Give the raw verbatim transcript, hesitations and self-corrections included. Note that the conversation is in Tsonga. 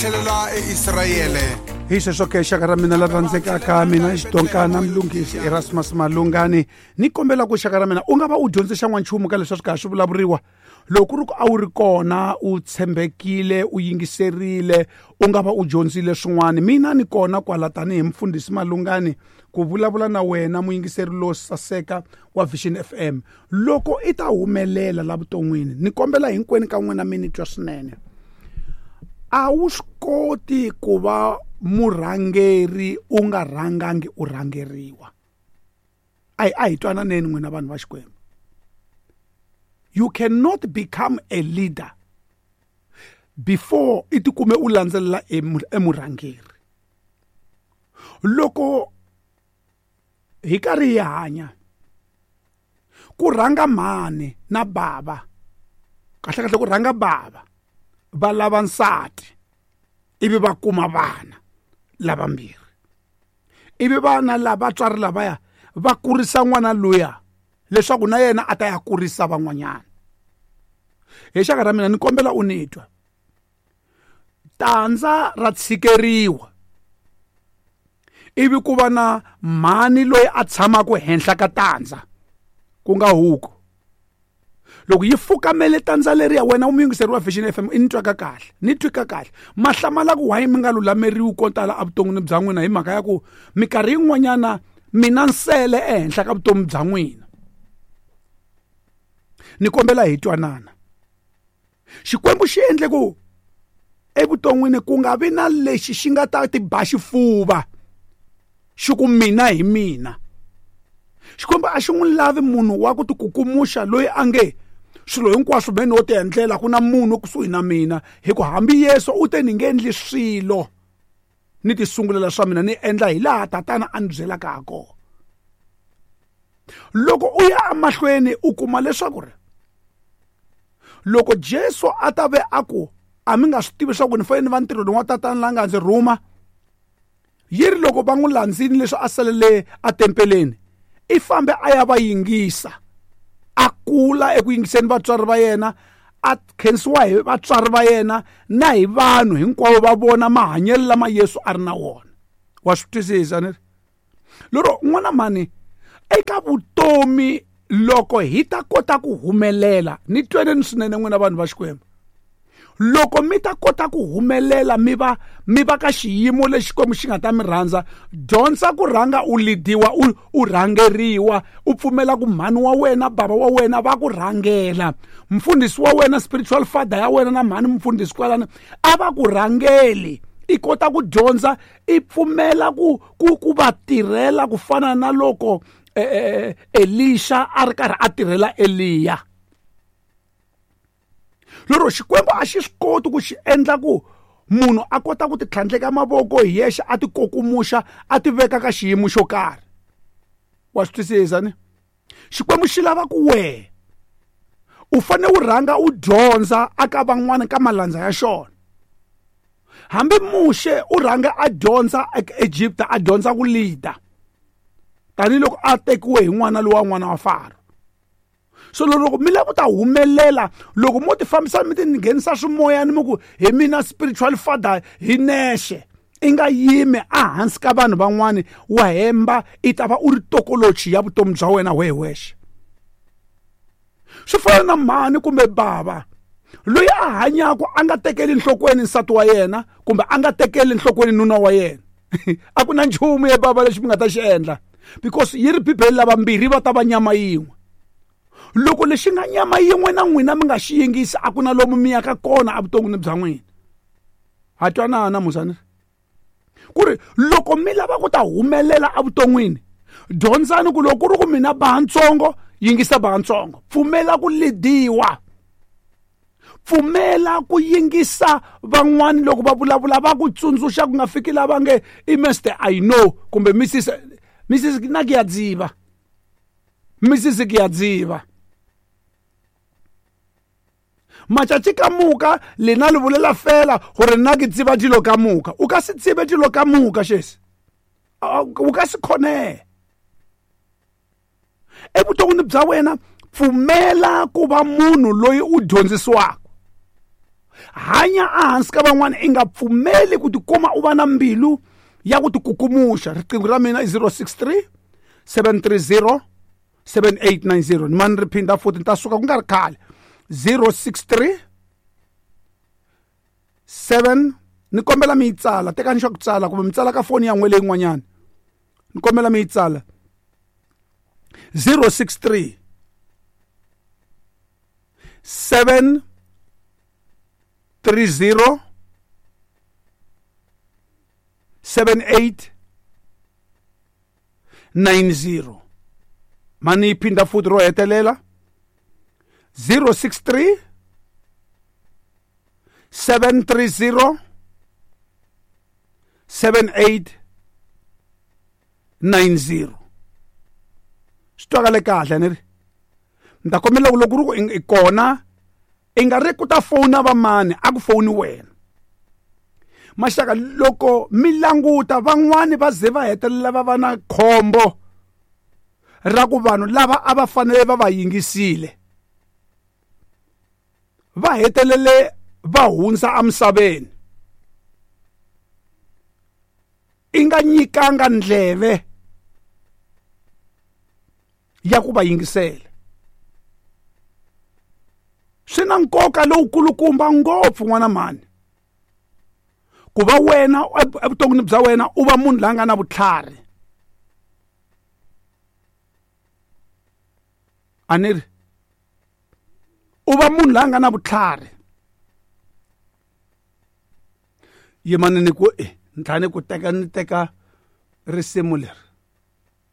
Tlhelela eIsrayele. Hi sweswo ke xaka ra mina la rhandzekaka, mina Xidonkana Mlungisi Erasmus Malungani, ni kombela ku xaka ra mina u nga va u dyondze xan'wanchumu ka leswi swi karhi swi vulavuriwa. Loko ku ri ku a wu ri kona, u tshembekile, u yingiserile, u nga va u dyondzile swin'wana. Mina ni kona kwala tanihi mfundhisi Malungani ku vulavula na wena muyingiseri lowo saseka wa Vision F M. Loko i ta humelela la vuton'wini, ni kombela hinkwenu ka n'wina mi ni twa swinene. A wu swi koti ku va murhangeri u nga rhangangi u rhangeriwa. A hi, a hi twananeni n'wina vanhu va Xikwembu. You cannot become a leader before i tikume u landzelela emurhangeri. Loko hi karhi hi hanya, ku rhanga mhani na bava, kahle kahle ku rhanga bava, va lava nsati, ivi va kuma vana lavambirhi. Ivi vana lava vatswari lavaya va kurisa n'wana luya leswaku na yena a ta ya kurisa van'wanyana. Hi xaka ra mina ni kombela u ni twa. Tandza ra tshikeriwa, ivi ku va na mhani loyi a tshamaka henhla ka tandza, ku nga huku. Loko yi fukamele tandza leriya, wena u muyingiseri wa Vision F M, i ni twaka kahle, ni twika kahle. Mahlamala ku why mi nga lulameriwi ko tala evuton'wini bya n'wina hi mhaka ya ku minkarhi yin'wanyana mina nsele ehenhla ka vutomi bya n'wina. Ni kombela hi twanana. Xikwembu xi endle ku evuton'wini ku nga vi na lexi xi nga ta ti ba xifuva xi ku mina hi mina. Xikwembu a xi n'wi lavi munhu wa ku tikukumuxa loyi a nge swilo hinkwaswo me no ti endlela, ku na munhu kusuhi na mina. Hi ku hambi Yesu u te ni nge endli swilo ni ti sungulela swa mina, ni endla hi laha tatana a ni byelaka ha kona. Loko u ya emahlweni u kuma leswaku ri loko Jesu a ta ve a ku a mi nga swi tivi leswaku ni fanele ni va ntirhweni wa tatana la nga ndzi rhuma, yi ri loko va n'wi landzini leswi a salele etempeleni, i fambe a ya va yingisa, a kula eku yingiseni vatswari va yena, a khensiwa hi vatswari va yena na hi vanhu hinkwavo va vona mahanyelo lama Yesu a ri na wona. Wa swi twisisa ni ri? Lero n'wana mhani, eka vutomi loko hi ta kota ku humelela, ni tweneni swinene n'wina vanhu va Xikwembu. Loko mi ta kota ku humelela mi va, mi va ka xiyimo lexi Xikwembu xi nga ta mi rhandza, dyondza ku rhanga u lidiwa, u, u rhangeriwa, u pfumela ku mhani wa wena, bava wa wena va ku rhangela. Mfundhisi wa wena, spiritual father ya wena na mhani mfundhisi kwalano a va ku rhangeli. I kota ku dyondza, i pfumela ku, ku, ku va tirhela ku fana na loko, eh, eh, Elisha a ri karhi a tirhela Eliya. Lero Xikwembu a xi swi koti ku xi endla ku munhu a kota ku titlhandleka mavoko hi yexe, a tikukumuxa, a ti veka ka xiyimo xo karhi. Wa swi twisisa ni? Xikwembu xi lava ku wehe u fanele u rhanga u dyondza aka van'wana ka malandza ya xona. Hambi Muxe u rhanga a dyondza Egipta, a dyondza ku leader, tanihiloko a tekiwe hi n'wana lowa n'wana wa Faro. So loko mi lava ku ta humelela, loko mo ti fambisa mi ti nghenisa swimoyani mi ku hi mina spiritual father hi nexe, i nga yimi ehansi ka vanhu van'wani, wa hemba, i ta va u ri tokolochi ya vutomi bya wena wehe wexe. Swi fana na mhani kumbe bava loyi a hanyaka a nga tekeli enhlokweni nsati wa yena kumbe a nga tekeli enhlokweni nuna wa yena. A ku na nchumu ye bava lexi mi nga ta xi endla, because yi ri Bibele lava mbirhi va ta va nyama yin'we. Loko lexi nga nyama yin'we na n'wina mi nga xi yingisi, a ku na lomu mi yaka kona evuton'wini bya n'wina. Ha twanana muzani? Ku ri loko mi lava ku ta humelela evuton'wini, dyondzani ku loko ku ri ku mina bantsongo, yingisa bantsongo, pfumela ku lidiwa, pfumela ku yingisa van'wani loko va vulavula, va ku tsundzuxa ku nga fiki lava nge i Mister I know kumbe Missus Missus na ke ya dziva, Missus ke ya dziva. Matšatši ka moka lena le bolela fela gore nna ke tseba dilo ka moka. O ka se tsebe dilo ka moka, šese. O ka se kgone. Evuton'wini bya wena, pfumela ku va munhu loyi u dyondzisiwaka. Hanya ehansi ka van'wana i nga pfumeli ku tikuma u va na mbilu ya ku tikukumuxa. Riqingho ra mina i zero six three seven three zero seven eight nine zero. Ni mani ri phinda futhi ni ta suka ku nga ri khale. zero six three seven ni kombela mi yi tsala, tekani xa ku tsala kumbe mi tsala ka foni ya n'we leyin'wanyana. Ni kombela mi yi tsala. zero six three seven three zero seven eight nine zero. Mani yi phinda futhi ro hetelela. zero six three seven three zero seven eight nine zero. Swi twakale kahle ni ri. Ni ta kombela ku loko ku ri ku i kona i nga ri ku ta fona va mani a ku foni wena. Maxaka loko mi languta van'wani va ze va hetelela va va na khombo ra ku vanhu lava a va fanele va va yingisile va hetelele va hundza emisaveni. I nga nyikanga ndleve ya ku va yingisela. Swi na nkoka lowukulukumba ngopfu n'wana mhani ku va wena evuton'wini bya wena u va munhu la nga na vutlhari. A ni ri u va munhu la nga na vutlhari. Yimani ni ku ni tlhela ni ku teka ni teka risimu leri.